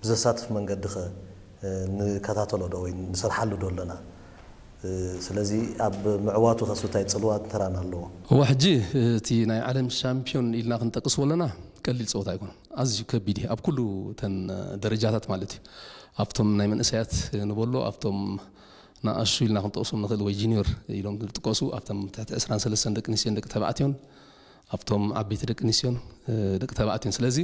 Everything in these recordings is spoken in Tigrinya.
ብዘሳትፍ መንገዲ ኸ ንከታተሎ ዶ ወይ ንሰርሓሉ ዶ ኣለና? ስለዚ ኣብ ምዕዋቱ ኸሱ እንታይ ጽልዋ ተራን ኣለዎ? እዋ ሕጂ እቲ ናይ ዓለም ሻምፒዮን ኢልና ክንጠቅስ ወለና ቀሊል ፀወታ ኣይኮነን። ኣዝዩ ከቢድ እዩ ኣብ ኩሉ ተን ደረጃታት ማለት እዩ። ኣብቶም ናይ መንእሰያት ንበሎ ኣብቶም ንኣሹ ኢልና ክንጠቅሶም ንኽእል ወይ ጂኒዮር ኢሎም ዝጥቀሱ ኣብቶም ትሕቲ ዕስራን ሰለስተን ደቂ ኣንስትዮን ደቂ ተባዕትዮን ኣብቶም ዓበይቲ ደቂ ኣንስትዮን ደቂ ተባዕትዮን ስለዚ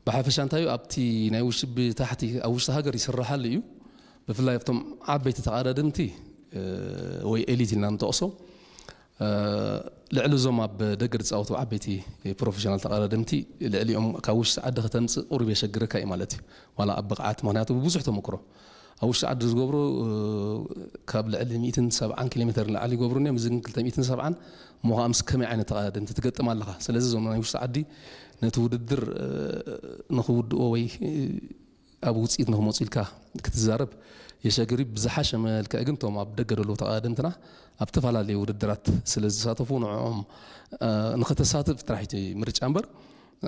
ብሓፈሻ እንታይ እዩ ኣብቲ ናይ ውሽጢ ብታሕቲ ኣብ ውሽጢ ሃገር ይስራሓሉ እዩ። ብፍላይ ኣብቶም ዓበይቲ ተቓዳደምቲ ወይ ኤሊት ኢልና ንጠቕሶ ልዕሊ እዞም ኣብ ደገ ዝፃወቱ ዓበይቲ ፕሮፌሽናል ተቓዳደምቲ ልዕሊኦም ካብ ውሽጢ ዓዲ ከተምፅእ ቁሩብ የሸግረካ እዩ ማለት እዩ። ዋላ ኣብ ብቕዓት ምክንያቱ ብብዙሕ ተመክሮ ኣብ ውሽጢ ዓዲ ዝገብሮ ካብ ልዕሊ ሚእትን ሰብዓን ኪሎ ሜተር ንላዕሊ ይገብሩ እዮም። እዚ ግን ክልተ ሚእትን ሰብዓን እሞ ከዓ ምስ ከመይ ዓይነት ተቓዳደምቲ ትገጥም ኣለኻ። ስለዚ እዞም ናይ ውሽጢ ዓዲ ነቲ ውድድር ንክውድኦ ወይ ኣብ ውፅኢት ንክመፁ ኢልካ ክትዛረብ የሸግር እዩ። ብዝሓሸ መልክዕ ግን እቶም ኣብ ደገ ዘለዉ ተቓዳደምትና ኣብ ዝተፈላለዩ ውድድራት ስለ ዝሳተፉ ንዕኦም ንኸተሳትፍ ጥራሕ እቲ ምርጫ እምበር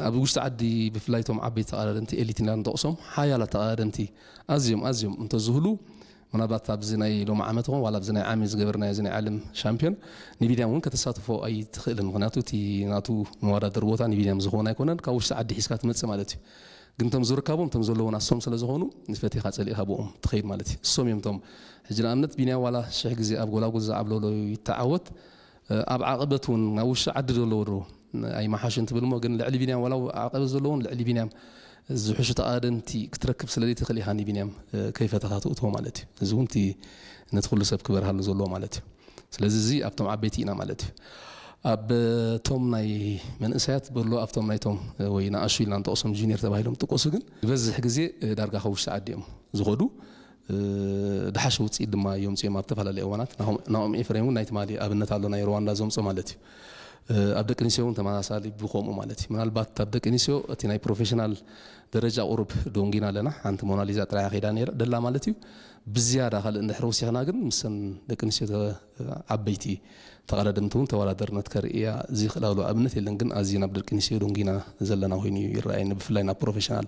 ኣብ ውሽጢ ዓዲ ብፍላይ እቶም ዓበይቲ ተቓዳደምቲ ኤሊት ኢና ንጠቕሶም ሓያላት ተቓዳደምቲ ኣዝዮም ኣዝዮም እንተዝህሉ ምናልባት ኣብዚ ናይ ሎም ዓመት ኾን ዋላ ኣብዚ ናይ ዓሚ ዝገበርናዮ እዚ ናይ ዓለም ሻምፒዮን ንቢንያም እውን ከተሳትፎ ኣይትኽእልን። ምክንያቱ እቲ ናቱ መወዳደሪ ቦታ ንቢንያም ዝኸውን ኣይኮነን። ካብ ውሽጢ ዓዲ ሒዝካ ትመፅእ ማለት እዩ። ግን እቶም ዝርካቦም እቶም ዘለዎም ኣሶም ስለ ዝኾኑ ንፈቲኻ ፀሊእካ ብኦም ትኸይድ ማለት እዩ። እሶም እዮም እቶም ሕጂ ንኣብነት ቢንያም ዋላ ሽሕ ግዜ ኣብ ጎላጉል ዝዓብለሎ ይተዓወት ኣብ ዓቐበት እውን ናብ ውሽጢ ዓዲ ዘለዎ ዶ ኣይመሓሽን ትብል እሞ ግን ልዕሊ ቢንያም ዋላ ዓቐበት ዘለዎን ልዕሊ ቢንያም ዝሕሹ ተቓደምቲ ክትረክብ ስለ ዘይትኽእል ኢኻ ንቢንያም ከይፈተኻ ትእትዎ ማለት እዩ። እዚ እውን እቲ ነቲ ኩሉ ሰብ ክበርሃሉ ዘለዎ ማለት እዩ። ስለዚ እዚ ኣብቶም ዓበይቲ ኢና ማለት እዩ። ኣብ እቶም ናይ መንእሰያት በሎ ኣብቶም ናይቶም ወይ ንኣሹ ኢልና ንጠቕሶም ጁኒየር ተባሂሎም ጥቀሱ ግን ዝበዝሕ ግዜ ዳርጋ ካብ ውሽጢ ዓዲ እዮም ዝኸዱ። ዝሓሸ ውፅኢት ድማ የምፅኦም ኣብ ዝተፈላለዩ እዋናት ናኦም ኤፍሬም እውን ናይ ትማሊ ኣብነት ኣሎ ናይ ሩዋንዳ ዘምፆ ማለት እዩ። ኣብ ደቂ ኣንስትዮ እውን ተመሳሳሊ ብከምኡ ማለት እዩ ምናልባት ኣብ ደቂ ኣንስትዮ እቲ ናይ ፕሮፌሽናል ደረጃ ቁሩብ ዶንጊና ኣለና ሓንቲ ሞናሊዛ ጥራያ ከይዳ ነራ ደላ ማለት እዩ። ብዝያዳ ካልእ እንድሕር ወሲኽና ግን ምሰን ደቂ ኣንስትዮ ዓበይቲ ተቐዳደምቲ እውን ተወዳደርነት ከርእያ ዝኽእላሉ ኣብነት የለን ግን ኣዝዩ ናብ ደቂ ኣንስትዮ ዶንጊና ዘለና ኮይኑ እዩ ይረኣየኒ ብፍላይ ናብ ፕሮፌሽናል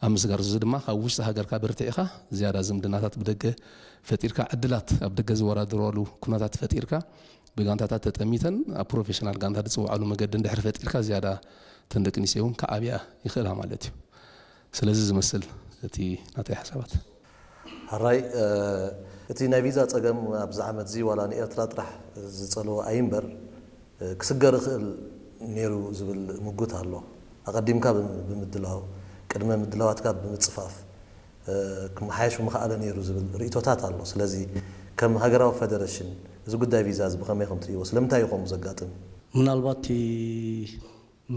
ኣብ ምስጋር እዚ ድማ ካብ ውሽጢ ሃገርካ በርቲዕኻ ዝያዳ ዝምድናታት ብደገ ፈጢርካ ዕድላት ኣብ ደገ ዝወዳደረሉ ኩነታት ፈጢርካ ብጋንታታት ተጠሚተን ኣብ ፕሮፌሽናል ጋንታ ዝፅውዓሉ መገዲ እንድሕር ፈጢርካ ዝያዳ እተን ደቂ ኣንስትዮ እውን ክዓብያ ይኽእላ ማለት እዩ። ስለዚ ዝመስል እቲ ናተይ ሓሳባት። ሕራይ እቲ ናይ ቪዛ ጸገም ኣብዚ ዓመት እዚ ዋላ ንኤርትራ ጥራሕ ዝጸልዎ ኣይምበር ክስገር ይኽእል ነይሩ ዝብል ምጉት ኣሎ። ኣቐዲምካ ብምድላው፣ ቅድመ ምድላዋትካ ብምጽፋፍ ክመሓየሽ ምኽኣለ ነይሩ ዝብል ርእይቶታት ኣሎ። ስለዚ ከም ሃገራዊ ፈደረሽን እዚ ጉዳይ ቪዛ እዚ ብኸመይ ከም ትርእይዎ? ስለምንታይ እዩ ከምኡ ዘጋጥም? ምናልባት እቲ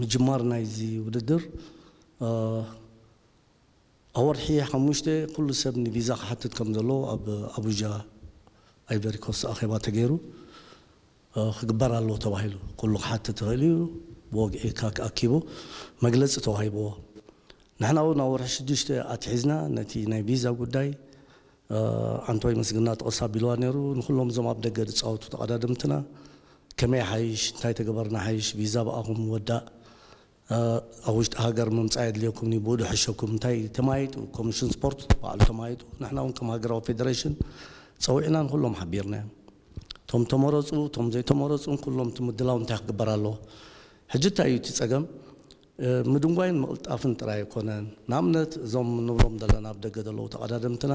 ምጅማር ናይዚ ውድድር ኣብ ወርሒ ሓሙሽተ ኩሉ ሰብ ንቪዛ ክሓትት ከም ዘለዎ ኣብ ኣቡጃ ኣይቨሪኮስት ኣኼባ ተገይሩ ክግበር ኣለዎ ተባሂሉ ኩሉ ክሓትት ይኽእል እዩ። ብወግዒ ካክ ኣኪቡ መግለፂ ተዋሂብዎ። ንሕና እውን ኣብ ወርሒ ሽዱሽተ ኣትሒዝና ነቲ ናይ ቪዛ ጉዳይ ኣንቶይ ምስግና ጥቕስ ኣቢልዋ ነይሩ። ንኩሎም እዞም ኣብ ደገ ዝፃወቱ ተቐዳደምትና ከመይ ሓይሽ እንታይ ተገበርና ሓይሽ ቪዛ ብኣኹም ወዳእ ኣብ ውሽጢ ሃገር ምምፃእ የድልየኩም ኒ ብኡ ድሕሸኩም እንታይ ተማይጡ ኮሚሽን ስፖርት ባዕሉ ተማይጡ ንሕና እውን ከም ሃገራዊ ፌደሬሽን ፀዊዕና ንኩሎም ሓቢርና እዮም። እቶም ተመረፁ እቶም ዘይተመረፁን ኩሎም እቲ ምድላው እንታይ ክግበር ኣለዎ። ሕጂ እንታይ እዩ እቲ ፀገም ምድንጓይን ምቕልጣፍን ጥራይ ኣይኮነን። ንኣብነት እዞም ንብሎም ዘለና ኣብ ደገ ዘለዉ ተቐዳደምትና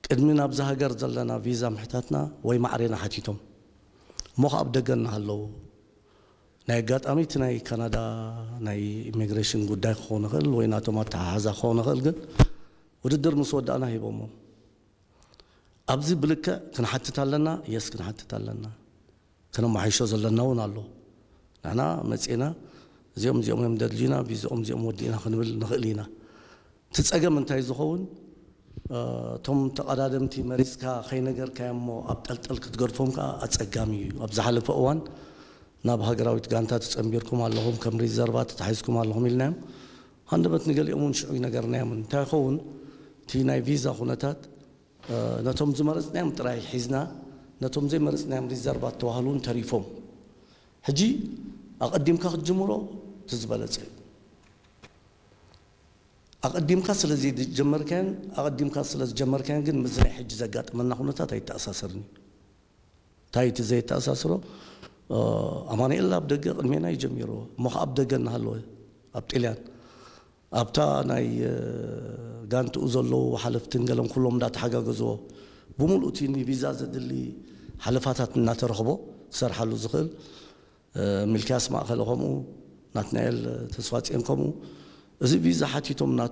ቅድሚ ናብዚ ሃገር ዘለና ቪዛ ምሕታትና ወይ ማዕሬና ሓቲቶም እሞ ከኣ ኣብ ደገ እናሃለዉ ናይ ኣጋጣሚ እቲ ናይ ካናዳ ናይ ኢሚግሬሽን ጉዳይ ክኸውን ይኽእል ወይ ናቶም ኣተሓሓዛ ክኸውን ይኽእል ግን ውድድር ምስ ወዳእና ሂቦሞ ኣብዚ ብልክዕ ክንሓትት ኣለና የስ ክንሓትት ኣለና ከነመሓይሾ ዘለና እውን ኣሎ። ንሕና መፂና እዚኦም እዚኦም እዮም ደድልዩና ቪዝኦም እዚኦም ወዲእና ክንብል ንኽእል ኢና። እቲ ፀገም እንታይ ዝኸውን እቶም ተቐዳደምቲ መሪፅካ ከይነገርካዮ እሞ ኣብ ጠልጠል ክትገድፎም ከዓ ኣፀጋሚ እዩ። ኣብ ዝሓለፈ እዋን ናብ ሃገራዊት ጋንታ ተፀንቢርኩም ኣለኹም ከም ሪዘርቫ ተታሒዝኩም ኣለኹም ኢልናዮም። ሃንደበት ንገሊኦም እውን ሽዑ ይነገርናዮም እንታይ ይኸውን እቲ ናይ ቪዛ ኩነታት ነቶም ዝመረፅናዮም ጥራይ ሒዝና ነቶም ዘይመረፅናዮም ሪዘርቫ ተባህሉ እውን ተሪፎም ሕጂ ኣቐዲምካ ክትጅምሮ እቲ ዝበለፀ እዩ። ኣቐዲምካ ስለ ዘይጀመርካዮን ኣቐዲምካ ስለ ዝጀመርካዮን ግን ምስዚ ናይ ሕጂ ዘጋጠመና ኩነታት ኣይተኣሳሰርኒ። እንታይ እቲ ዘይተኣሳስሮ? ኣማኑኤል ኣብ ደገ ቅድሜና እዩ ጀሚርዎ እሞ ከኣ ኣብ ደገ እናሃለወ ኣብ ጥልያን ኣብታ ናይ ጋንትኡ ዘለዉ ሓለፍትን ገለን ኩሎም እንዳተሓጋገዝዎ ብምሉእ እቲ ንቪዛ ዘድሊ ሓለፋታት እናተረኽቦ ክሰርሓሉ ዝኽእል፣ ሚልክያስ ማእከለ ከምኡ፣ ናትናኤል ተስፋጽዮን ከምኡ፣ እዚ ቪዛ ሓቲቶም እናተ